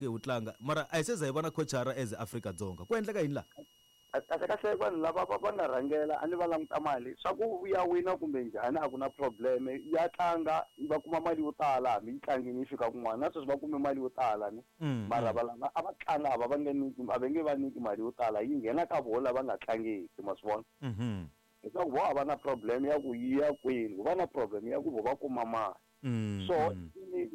Wu tlanga mara a hi se za hi vona coachara as Afrika-Dzonga ku endleka yini laha? Kahle kahle vanhu lava va va nga rhangela a ni va languta mali swa ku ya wina kumbe njhani a ku na problem ya tlanga va kuma mali yo tala hambi yi tlangini yi fika kun'wana na sweswi va kume mali yo tala ni mara va lava a va tlanga a va va nge nyiki a va nge va nyiki mali yo tala yi nghena ka voho lava nga tlangiki ma swi vona leswaku vo a va na problem ya ku yi ya kwini va na problem ya ku vo va kuma mali Mm, so mm.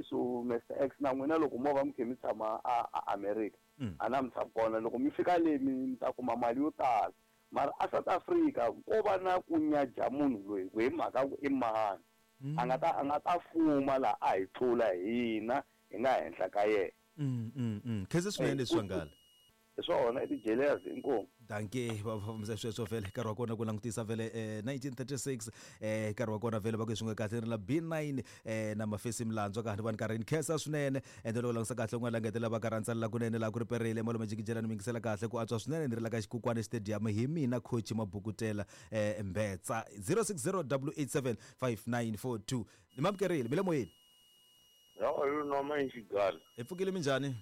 So Mr X, na n'wina loko mo va mi khe mi tshama a a America, a na mi tshama kona, loko mi fika le mi ta kuma mali yo tala, mara a South Africa ko va na ku nyaja munhu loyi ku hi mhaka ku i mani a nga ta a nga ta fuma laha a hi tlula hina hi nga henhla ka yena. Khensa swinene leswi ngala. Hi swona i ti-jealous inkomu. Dankie va fambisa sweswo vhele nkarhi wa kona ku langutisa vhele 1936 nkarhi wa kona vhele va ku swi nga kahle ri la B9 na mafesi milandzwa ka ni va ni karhi ni khensa swinene. Ende loko langutisa kahle un'wana la ngetela va karhi a ntsalela kunene laha ku ri perile malume jikijela ni mingisela kahle ku antswa swinene ni ri la ka xikukwana stadium hi mina coach mabukutela mbetsa 060 887 5942 ni mamukerile mi le moyeni. How are you, Noma Nxigala? Hi pfukile, minjhani?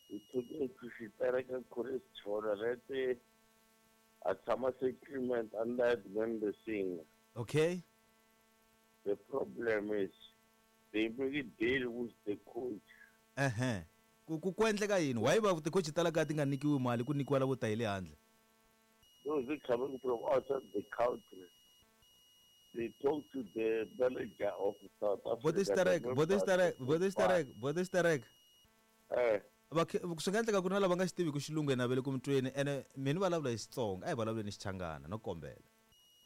Hi pfukile ku xitereka Chris Chona rete a tshama settlement under Edmund Singh. Okay. The problem is they make a deal with the coach. Ehe. Ku endleka yini? Why va ti-coach ta la kaya ti nga nyikiwi mali ku nyikiwa lavo ta hi le handle? Those who coming from outside the country, they talk to the manager of South Africa. Botixitereka, botixitereka, botixitereka, botixitereka. Va swi nga endleka ku ri na lava nga xi tiviki xilungu ene a va le ku mi tweni ene mi ni vulavula hi Xitsonga, a hi vulavuleni Xichangana no kombela.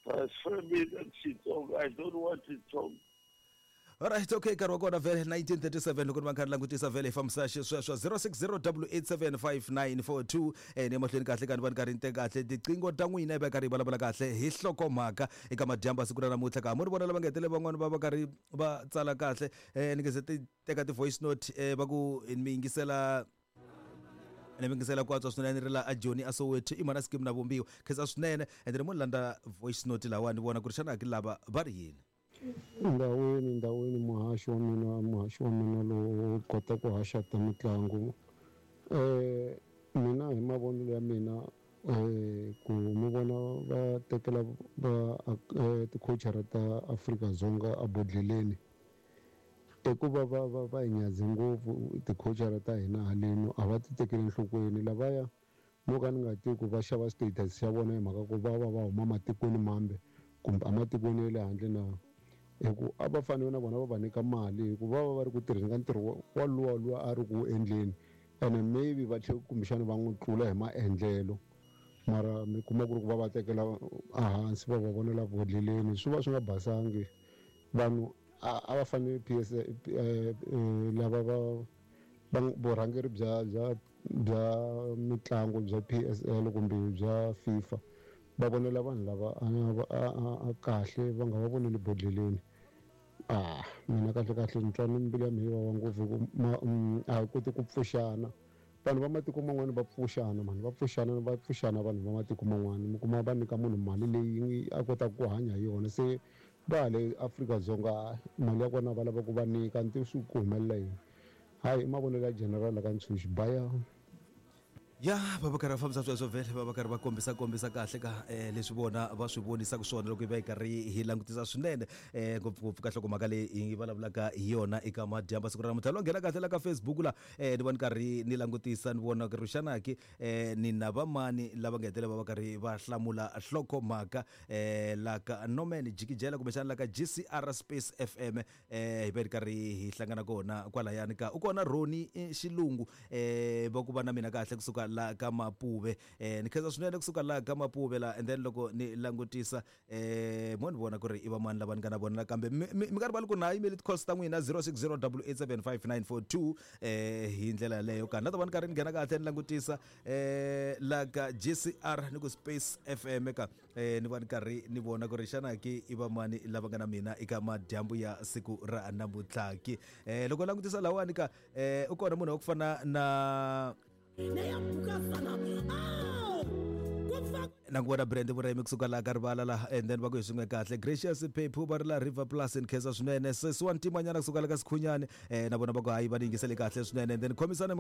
Transfer me that Xitsonga. I don't want to talk. Alright, okay, nkarhi wa kona vhele 1937 loko ni va kha ni langutisa vhele hi fambisa xisweswo 0608875942 ni emahlweni kahle ka ni va ni karhi ni teka kahle tiqingho ta n'wina hi va karhi hi vulavula kahle hi hlokomhaka eka madyambu siku ra namuntlha ka mo ni vona lava nga hetelela van'wani va va karhi va tsala kahle ni nge se ti teka ti-voice note va ku mi yingisela ni yingisela ku antswa swinene ri la a Joni a Soweto i mhana scheme na vumbiwa khensa swinene ende ni mo landza voice note lawa ni vona ku ri xana ki lava va ri yini. Ndhawini ndhawini muhaxi wa mina muhaxi wa mina lowo kota ku haxa ta mitlangu mina hi mavonelo ya mina ku mi vona va tekela va tikhochara ta Afrika-Dzonga ebodhleleni i ku va va va va hi nyadze ngopfu tikhochara ta hina haleno a va ti tekeli enhlokweni lavaya no ka ni nga tivi ku va xava status xa vona hi mhaka ku va va va huma matikweni mambe kumbe ematikweni ya le handle na hi ku a va fanele na vona va va nyika mali hi ku va va va ri ku tirheni ka ntirho wa luwa luwa a ri ku wu endleni ene maybe va tlhe kumbexana va n'wi tlula hi maendlelo mara mi kuma ku ri ku va va tekela ehansi va va vonela bodleleni swi va swi nga basangi vanhu a va fanele P_S lava va va vurhangeri bya bya bya mitlangu bya P_S_L kumbe bya FIFA va vonela vanhu lava a kahle va nga va voneli bodleleni a mina kahle kahle ni twa ni mbilu ya mina yi vava ngopfu hi ku a hi koti ku pfuxana vanhu va matiko man'wana va pfuxana mani va pfuxana va pfuxana vanhu va matiko man'wana mi kuma va nyika munhu mali leyi a kotaka ku hanya hi yona se va le Afrika-Dzonga mali ya kona va lava ku va nyika ni tivi swi ku humelela yini hayi i mavonelo ya general la ka Ntshuxi baya. Ya va va karhi va fambisa sweswo vhele va va karhi va kombisa kombisa kahle ka leswi vona va swi vonisaka swona loko hi va hi karhi hi langutisa swinene ngopfungopfu ka nhlokomhaka leyi hi vulavulaka hi yona eka madyambu siku ra namuntlha lo nghena kahle la ka Facebook la ni va ni karhi ni langutisa ni vona ku ri xana ki ni na va mani lava nga hetelela va va karhi va hlamula nhlokomhaka la ka Norman Jikijela kumbexana la ka GCR Space FM hi va hi ri karhi hi hlangana kona kwalayani ka u kona Roni Xilungu va ku va na mina kahle kusuka la ka Mapuve ni khensa swinene kusuka la ka Mapuve la and then loko ni langutisa mo ni vona ku ri i vamani lava ni nga na vona nakambe mi nga rivali ku na yimeli ti-calls ta n'wina 0608875942 hi ndlela yaleyo ka na ta va ni karhi ni nghena kahle ni langutisa la ka GCR ni ku Space FM ka ni va ni karhi ni vona ku ri xana ki i vamani lava nga na mina eka madyambu ya siku ra namuntlha ki loko langutisa lawani ka u kona munhu wa ku fana na Na ku vona brand vurimi kusuka laha ka rivala laha, and then va ku hi swin'we kahle. Gracious Phephu va ri la River Plus, ni khensa swinene. Sesi wa ntimanyana kusuka la ka Sikhunyani, na vona va ku hayi, va ni yingisele kahle swinene. And then khomisana.